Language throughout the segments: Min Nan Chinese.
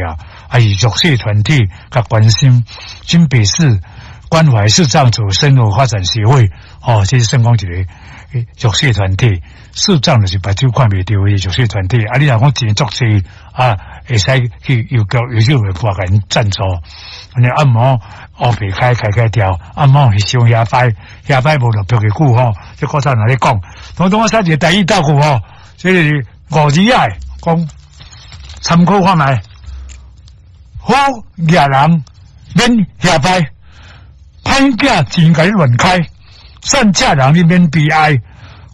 要，啊是弱勢團體較關心，新北市關懷視障者生活發展協會，哦，這是算講一個弱勢團體，視障就是目睭看袂著的弱勢團體。啊，你若講錢足濟啊，會使去郵局郵政會撥共𪜶贊助。你按摩烏白開開開掉，按摩是傷遐歹，遐歹無落票嘅久吼。這古早若咧講，統統我寫一個台語道具吼，這是五字仔的，講參考看覓。好額人免遐歹，歹囝錢共你亂開，善食人你免悲哀，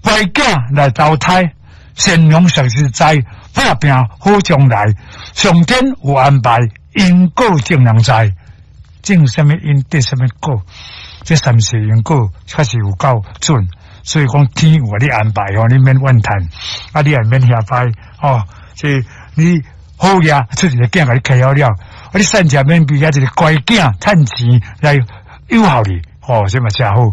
乖囝來投胎，善良實實在，拍拚好將來，上天有安排，因果眾人知，種啥物因得啥物果，這三世因果確實有夠準，所以講天有予你安排吼，你免怨嘆，啊你也免遐歹吼，這你好額出一個囝共你開好了，啊你善食免悲哀，一個乖囝趁錢來養活你，吼，這嘛誠好。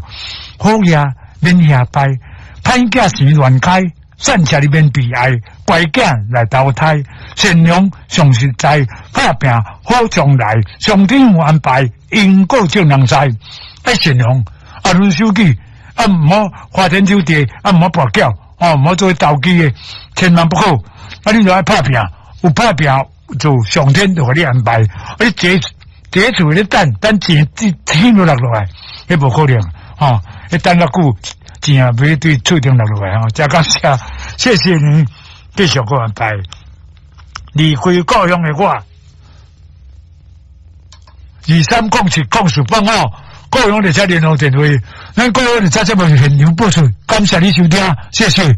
好額免遐歹，歹囝錢亂開，善食你免悲哀，乖囝來投胎，善良上實在，拍拚好將來，上天有安排，因果眾人知。愛善良，啊，攄手機，啊，毋好花天酒地，啊，毋好跋筊，哦，毋好做投機的，千萬不可。啊，你著愛拍拚，有拍拚就上天就予你安排。啊，你坐坐厝咧等，等錢天都落落來，彼無可能，吼，彼等較久，錢也欲對厝頂落落來吼。誠感謝，謝謝你繼續閣安排。離開故鄉的我，23070485，故鄉列車聯絡電話，咱故鄉列車節目現場播出，感謝你收聽，謝謝。